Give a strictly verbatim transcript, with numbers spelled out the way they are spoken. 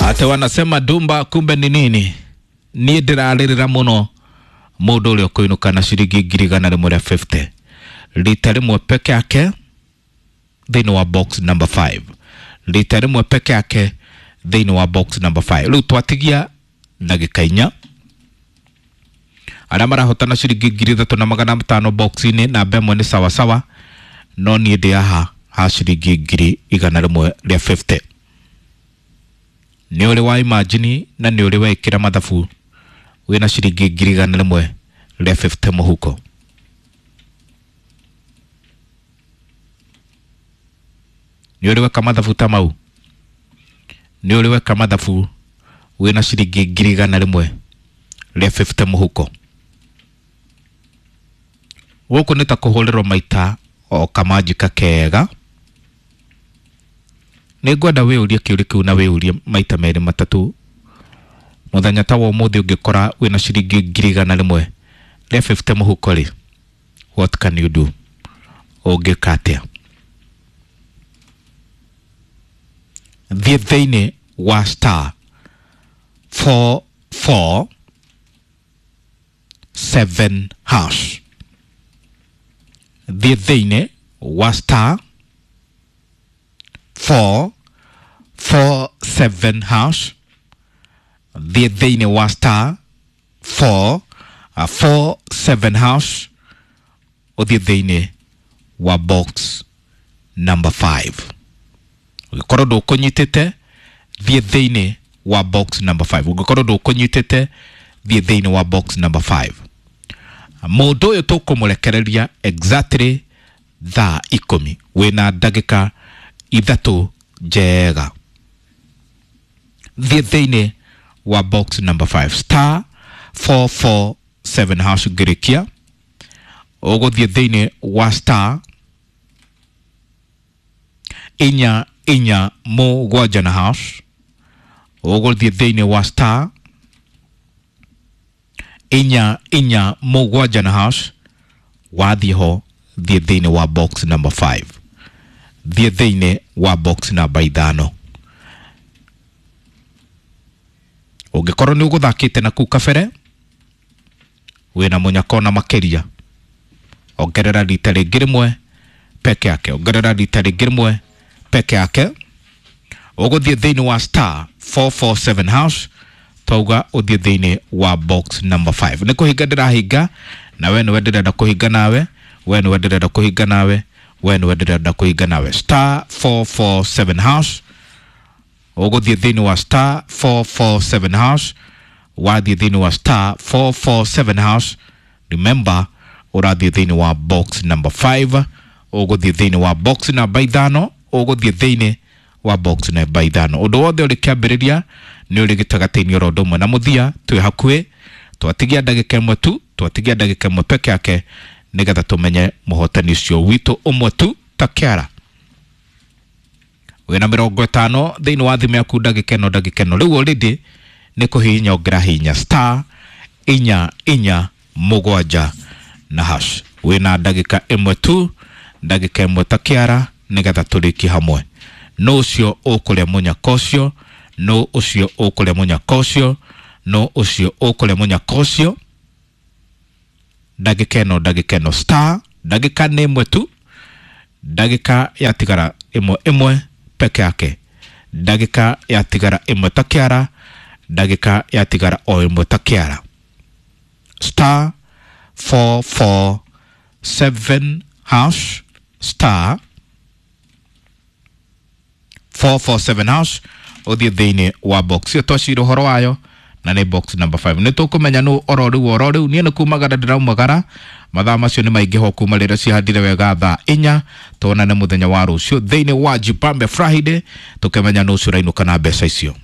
Ate wanasema Dumba kumbe ni nini? Niĩ ndĩrarĩrĩra mũno mũndũ ũrĩa ũkũinũka na ciringi ngiri igana rĩmwe rĩa fifty rita rĩmwe peke yake thĩinĩ wa box number five, rita rĩmwe peke yake thĩinĩ wa box number five. Rĩu twatigia ndagĩka inya arĩa marahotana ciringi ngiri ithatũ na magana matano box-inĩ namba ĩmwe nĩ sawasawa, no niĩ ndĩ haha ha ciringi ngiri igana rĩmwe rĩa fifty. Nĩ ũrĩ wa imagine na nĩ ũrĩ wekĩra mathabu wĩna ciringi ngiri igana rĩmwe rĩa fifty mũhuko. Nĩ ũrĩ weka mathabu ta mau? Nĩ ũrĩ weka mathabu wĩna ciringi ngiri igana rĩmwe rĩa fifty mũhuko? Gũkũ nĩ ta kũhũrĩrwo maita o kamanjika kega. Nĩ ngwenda wĩyũrie kĩũria kĩu na wĩyũrie maita merĩ matatũ. Mũthenya ta wa ũmũthĩ ũngĩkora wĩna ciringi ngiri igana rĩmwe rĩa fifty mũhuko rĩ, what can you do? Ũngĩka atĩa? Thiĩ thĩinĩ wa star four four seven hash. Thiĩ thĩinĩ wa star four four seven hash. Thiĩ thĩinĩ wa star four four seven hash. Ũthiĩ thĩinĩ wa box number five. Ũngĩkorwo ndũkũnyitĩte, thiĩ thĩinĩ wa box number five. Ũngĩkorwo ndũkũnyitĩte, thiĩ thĩinĩ wa box number five. Mũndũ ũyũ tũkũmũrekereria exactly thaa ikũmi, wĩna ndagĩka ithatũ njega. Thiĩ thĩinĩ wa box number five, star four four seven hash ngĩrĩkia. Ũgũthiĩ thĩinĩ wa star inya inya mũgwanja na hash. Ũgũthiĩ thĩinĩ wa star inya inya mũgwanja na hash. Wathiĩ ho, thiĩ thĩinĩ wa box number five. Thiĩ thĩinĩ wa box number ithano. Ũngĩkorwo nĩ ũgũthakĩte na kũu kabere, wĩna mũnyaka ona makĩria, ongerera rita rĩngĩ rĩmwe peke yake, ongerera rita rĩngĩ rĩmwe peke yake. Ũgũthiĩ thĩinĩ wa star four four seven hash, twauga ũthiĩ thĩinĩ wa box number five. Nĩ kũhinga ndĩrahinga, na we nĩwe ndĩrenda kũhinga nawe, we nĩwe ndĩrenda kũhinga nawe, we nĩwe ndĩrenda kũhinga nawe. Star four four seven hash. Ũgũthiĩ thĩinĩ wa star four four seven hash. Wathiĩ thĩinĩ wa star four four seven hash, remember ũrathiĩ thĩinĩ wa box number five. Ũgũthiĩ thĩinĩ wa box number ithano, ũgũthiĩ thĩinĩ wa box number ithano. Ũndũ wothe ũrĩ kĩambĩrĩria nĩ ũrĩ gĩtagatĩ-inĩ oro ũndũ ũmwe na mũthia, twĩ hakuhĩ, twatigia ndagĩka ĩmwe tu, twatigia ndagĩka ĩmwe peke yake nĩgetha tũmenye mũhotani ũcio witũ ũmwe tu ta kĩara. Wĩna mĩrongo ĩtano thĩinĩ wa thimũ yaku ndagĩka ĩno, ndagĩka ĩno. Rĩu already nĩ kũhihinya ũngĩrahihinya star inya inya mũgwanja na hash. Wĩna ndagĩka ĩmwe tu, ndagĩka ĩmwe ta kĩara nĩgetha tũrĩkie hamwe. No ũcio ũkũrĩa mũnyaka ũcio, no ũcio ũkũrĩa mũnyaka ũcio, no ũcio ũkũrĩa mũnyaka ũcio. Ndagĩka ĩno, ndagĩka ĩno, star ndagĩka nĩ ĩmwe tu, ndagĩka yatigara ĩmwe ĩmwe peke yake, ndagĩka yatigara ĩmwe ta kĩara, ndagĩka yatigara o ĩmwe ta kĩara. Star four four seven hash, star four four seven hash, ũthiĩ thĩinĩ wa box ĩyo twacira ũhoro wayo na nĩ box number five. Nĩ tũkũmenya nũ oro rĩu oro rĩu. Niĩ nĩ kumagara ndĩraumagara, mathaa macio nĩ maingĩ ho kuma rĩrĩa cihandire wega thaa inya. Tuonane mũthenya wa rũciũ thĩinĩ wa Jipambe Friday, tũkĩmenya nũ ũcio ũrainũka na mbeca icio.